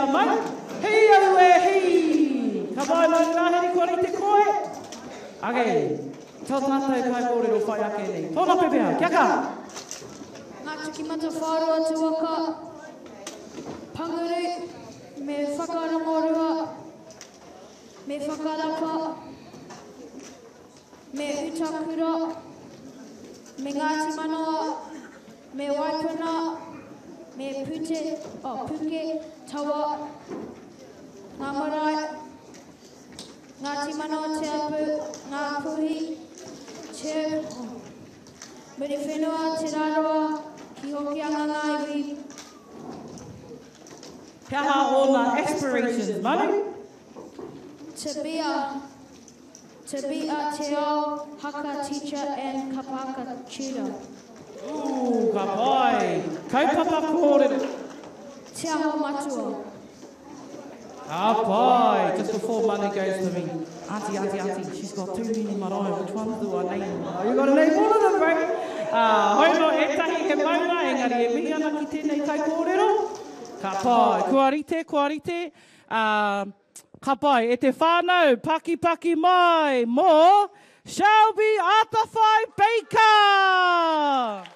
a Mau. Hī aue hī! Ka pai Manu Rāhiri kua rite koe? Okay, tō tātou kaikōrero whai ake nei. Tōna pepeha, kia kaha! Ngā Tukimata Whāroa te waka, Panguru me Whakarongorua me Whakarapa me Utakura me Ngāti Manawa me Waipuna me Pute, oh, Puke, Tawa, ngā marae, Ngāti Manawa Te Apu, Ngā Puhi, Te, oh, Muriwhenua, Te Rarawa, ki Hokianga ngā iwi. He aha ōna aspirations, Manu? To be a To be a Te Ao Haka teacher and Kapa Haka tutor. Ooh, ka pai. Kaupapa kōrero. Te Aho Matua. Ka pai. Just before Manu goes to me. Auntie, auntie, auntie, she's got too many marae, which ones do I name? Oh, you gotta name all of them, bro. Uh, hoi no, etahi he maunga, engari e mihi ana ki tēnei kaikōrero. Ka pai. Kua rite, kua rite. Uh, ka pai. E te whānau, pakipaki mai mō Shelby Atawhai Baker!